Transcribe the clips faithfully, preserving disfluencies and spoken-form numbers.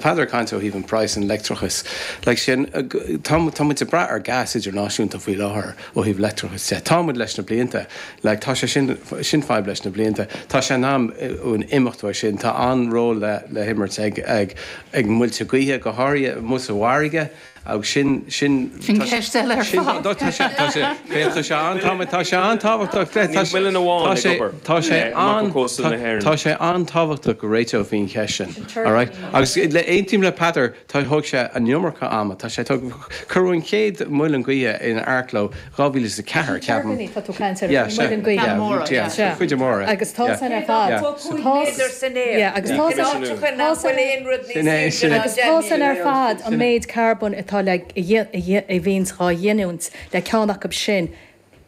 Tá Peadar ag caint ó thaobh an price an leictreachas. Like sin, tá tá muid ag brath ar gas idirnáisiúnta faoi láthair ó thaobh leictreachas de. Tá muid leis na blianta, like tá sé sin sin fadhb leis na blianta. Tá sé in am an imeacht uaidh sin, tá an-ról le le himirt ag ag ag muilte gaoithe go háirithe amuigh sa bhfarraige agus sin sin Sin ceist eile ar fad. Tá sé tá sé tá sé an tá sé an-tábhachtach Níl muileann amháin ag obair tá sé amach an ó chósta na hÉireann. tá sé an-tábhachtach go réiteofaí an cheist sin. All right? Agus le aontaím le Peadar tá thóg sé an iomarca ama tá sé cuireadh an chéad muileann gaoithe in Arklow dhá mhíle is a ceathair ceapaim. Tuirbíní tá tú caint ar Yeah, muileann gaoithe. yeah, Móra, yeah, Sea. cuid mhór. Agus tá san ar fad. Tá cúig méadar san aer. Yeah, agus tá san Nach bhfuil aon rud Sin é, níos sin é. Agus tá san ar fad an méid carbón atá le a bhíonn á ghiniúint le ceann acu sin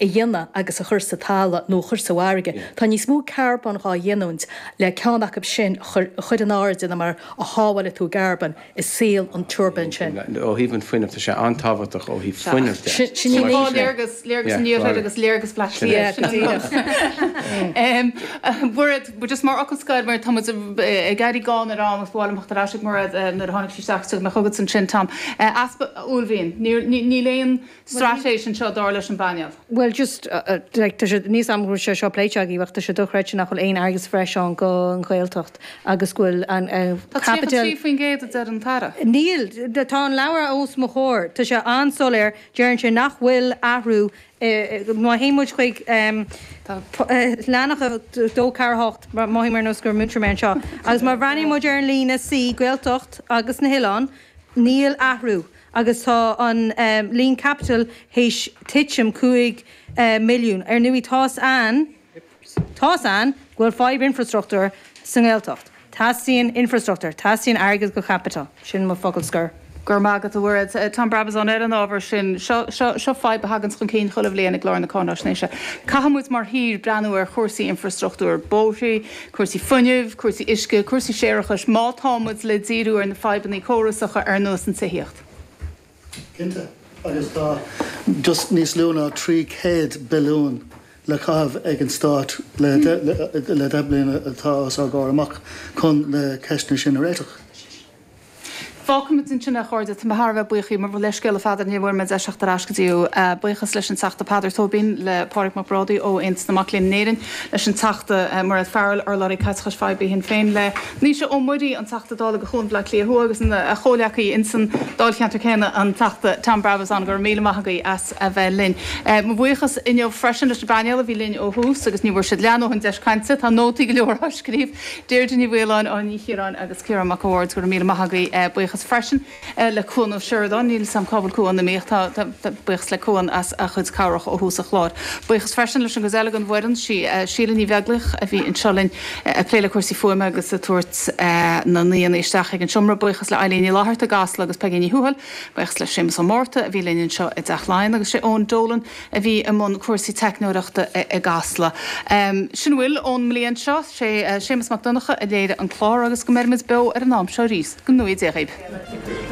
a dhéanamh agus a chur sa talamh nó a chur sa bhfarraige. Tá níos mó carbón á ghiniúint le ceann acu sin a chur a chur in airde ná mar a shábháilfidh tú carbón i saol an turbine sin. Ó thaobh an fuinnimh tá sé an-tábhachtach ó thaobh fuinnimh de. Sin sin Sin í dhá léargas, léargas an iarthair agus léargas Bhaile Átha Cliath. Yeah, go díreach. Mairéad, just mar fhocal scoir mar tá muid ag éirí gann ar am agus ba mhaith liom teacht ar ais ag Mairéad nuair a tháinig sí isteach tugadh mé chugat ansin Tom. Easpa uaillmhian. Níl aon straitéis anseo dar leis an bpainéal. Well just uh, uh, like, tá sé níos am go sé seo pléite agaibh ach tá sé dochreidte nach bhfuil aon airgead breise ann go an Ghaeltacht agus go bhfuil an uh, Tá capital trí faoin gcéad a deir an tAire. Níl tá an leabhar os mo chomhair Tá sé an-soiléir deireann sé nach bhfuil athrú má théann muid chuig leathanach dó ceathair hocht mothaím ar nós gur múinteoir mé anseo. Agus má bhreathnaíonn muid ar an líne C Gaeltacht agus na hoileáin, níl athrú agus tá an um, líon capital théis titim cúig uh, milliún. Ar ndóigh tá an tá an go bhfuil fadhb infrastruchtúr sa nGaeltacht. Teastaíonn infrastruchtúr, teastaíonn airgead go capital, sin mo focal scoir. Gur magat a bhfuir Tom Brabazon ar an ábhar sin seo seo fadhb a thagann chun cinn chuile bhliain i gclár na cáinaisnéise. Caithfimid mar thír breathnú ar chúrsaí infrastruchtúr bóithre, cúrsaí fuinnimh, cúrsaí uisce, cúrsaí séarachais, má táimid le díriú ar na fadhbanna córasacha ar nós an tithíocht. Cinnte agus tá just níos lú ná trí chéad billiún le caitheamh ag an stát le le deich mbliana atá os ár gcomhair amach chun na ceisteanna sin a réiteach. Fágfaimid ansin a chairde tá thar a bheith buíoch mar leithscéal a Pheadair ní bhfuair mé deis teacht ar ais go dtí buíochas leis an Teachta Peadar Tóibín le Pádraig Mac Brádaigh ó Aontas na Mac Léinn in Éirinn leis an Teachta Mairéad Farrell urlabhraí caiteachais phoiblí Shinn Féin le Naoise Ó Muirí an Teachta Dála do Chuan Bhaile Átha Cliath Thuaidh agus a chomhghleacaí insan Dáilcheantar céanna an Teachta Tom Brabazon go raibh míle maith agaibh as a bheith linn. Mo bhuíochas inniu freisin leis an bpainéal a bhí linn ó thús agus ní bhfuair siad leathdhóthain deis cainte tá nótaí go leor á scríobh Deirdre Ní Mhaoláin ó Ní Chiaráin agus Ciarán Mac Awards go raibh míle maith agaibh buíochas freisin le Cuan Ó Seireadáin níl sam cábal Cuan na míoch tá buíochas le Cuan as a chuid cabhrach ó thús an chláir. Buíochas freisin leis an gcuid eile den bhfoireann sí Síle Ní Bheaglaoich a bhí anseo linn ag plé le cúrsaí fuaime agus ag tabhairt na n-aíonna isteach ag an seomra buíochas le Eileen Ní Fhlatharta i gCasla agus Peggy Ní Thuathail, buíochas le Séamus Ó Márta a bhí linn anseo i dTeach Laighean agus sé Eoin Dolan a bhí i mbun cúrsaí teicneoireachta i gCasla. Sin bhfuil ón mbliain seo sé Séamus Mac Donncha a léirigh an clár agus go mbeimid beo ar an am seo arís go ngnóthaí Dé dhaoibh.